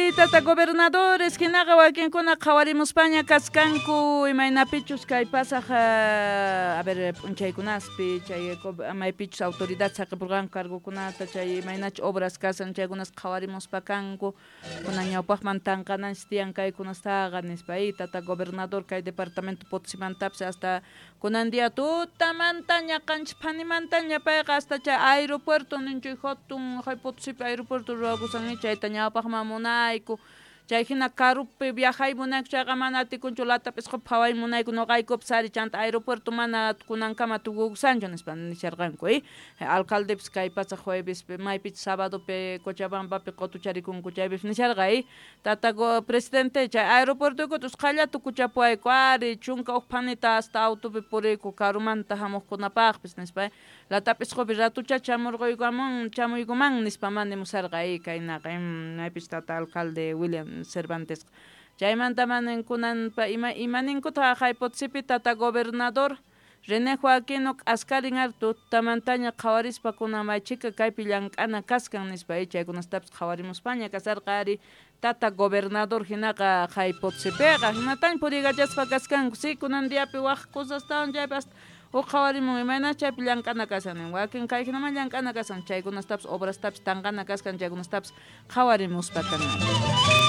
Ari tata gobernadores hinaqa wakinkuna qhawarimuspaña kaskanku imaynapichus kay pasaq a ver p'unchaykunaspi chay maypichus autoridad saqipurqanku cargokunata chay imaynachus obras kasan chaykunas qhawarimuspa kanku kunan ñawpaqman tanqananchis tiyan kaykunastaqa nispa tata gobernador kay departamento Potosímantapis hasta kunan día tutamantaña qanchis phanimantaña payqa hasta chay aeropuerto ninchuy hatun Potosípi aeropuerto ruwakusan chayta ñawpaqman munayku chay hina karupi viajay munayku chayqa mana atikunchu lata p'isqupi phaway munayku noqaykupis ari chanta aeropuerto mana kunankama tukukusanchu nispa nisharqanku alcaldepis kay pacha juevespi maypichus sabadopi Cochabambapi qutucharikunku chaypis nisharqa tata presidente chay aeropuertoykuta usqhaylla tukuchapuwayku ari 11 phanita hasta autopi puriyku karumanta hamuqkunapaqpis nispa lata p'isqupi ratucha chamurquykuman chamuykuman nispa mana nimusharqa kaynaqa maypis tata alcalde William Cervantes chaymanta manan kunanpa ima ninkutaq haqay Potosípi tata gobernador René Joaquino k'askarin ari tutamantaña qhawarispa kunan maychika kaypi llank'ana kaskan nispa chaykunastapis qhawarimuspaña kasarqa ari tata gobernador hinaqa qhay Potosípiqa hinataña puriykachaspa kaskanku si kunan diapi waq cosastawan chaypi hasta huk qhawarimun imayna chaypi llank'ana kashan nin wakin kay hinaman llank'ana kashan chaykunastapis obrastapis tanqana kaskan chaykunastapis qhawarimuspa kan.